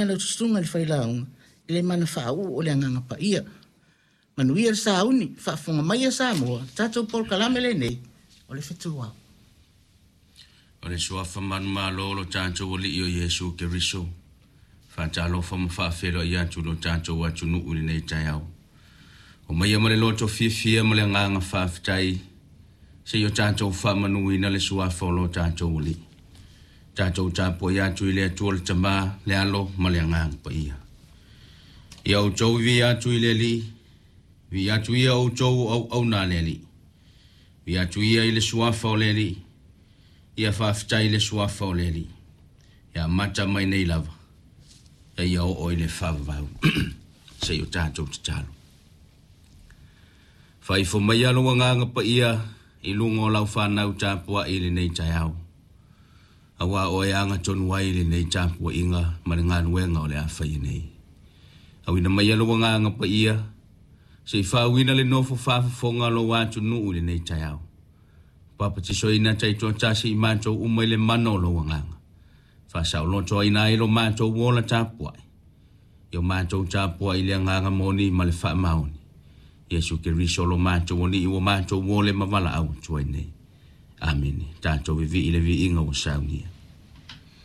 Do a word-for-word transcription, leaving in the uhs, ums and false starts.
Lau susuga i le failauga i le mana faauu o le Agaga Paia. Manuia le sauni, faafofoga mai a Samoa, le tatou polokalame lenei o le Fetu Ao. O le suafa manumalo o lo tatou Alii o Iesu Keriso, faatalofa ma faafeiloai atu i lo tatou atunuu i lenei taeao. O maia ma le loto fiafia ma le agaga faafetai, seia o tatou faamanuina le suafa o lo tatou Alii. Tatou tapuai atu i le Atua le Tamā, le Alo ma le Agaga Paia. Ia outou viia atu i le Alii, viia atu ia outou o auauna a le Alii. Viia atu ia i le suafa o le Alii, ia faafetai i le suafa o le Alii. Ia amata mai nei lava, ia oo i le faavavau. Se i o tatou tatalo. Faaifo mai lou Agaga Paia i luga o lau fanau tapuai i lenei taeao. Auā oe aga tonu ai lenei tapuaiga ma le galuega o le a faia nei. Auina mai lou Agaga Paia, se i faauina le nofo faafofoga o lou atunuu i lenei taeao. Papatisoina taitoatasi i matou uma i le mana o lou Agaga. Faasaolotoaina ai lo matou ola tapuai. Ia o matou tapuai i le agaga moni ma le faamaoni. Iesu Keriso lo matou Alii ua matou ole ma valaau atu ai nei. Amene. Tatou vivii i le viiga ua saunia.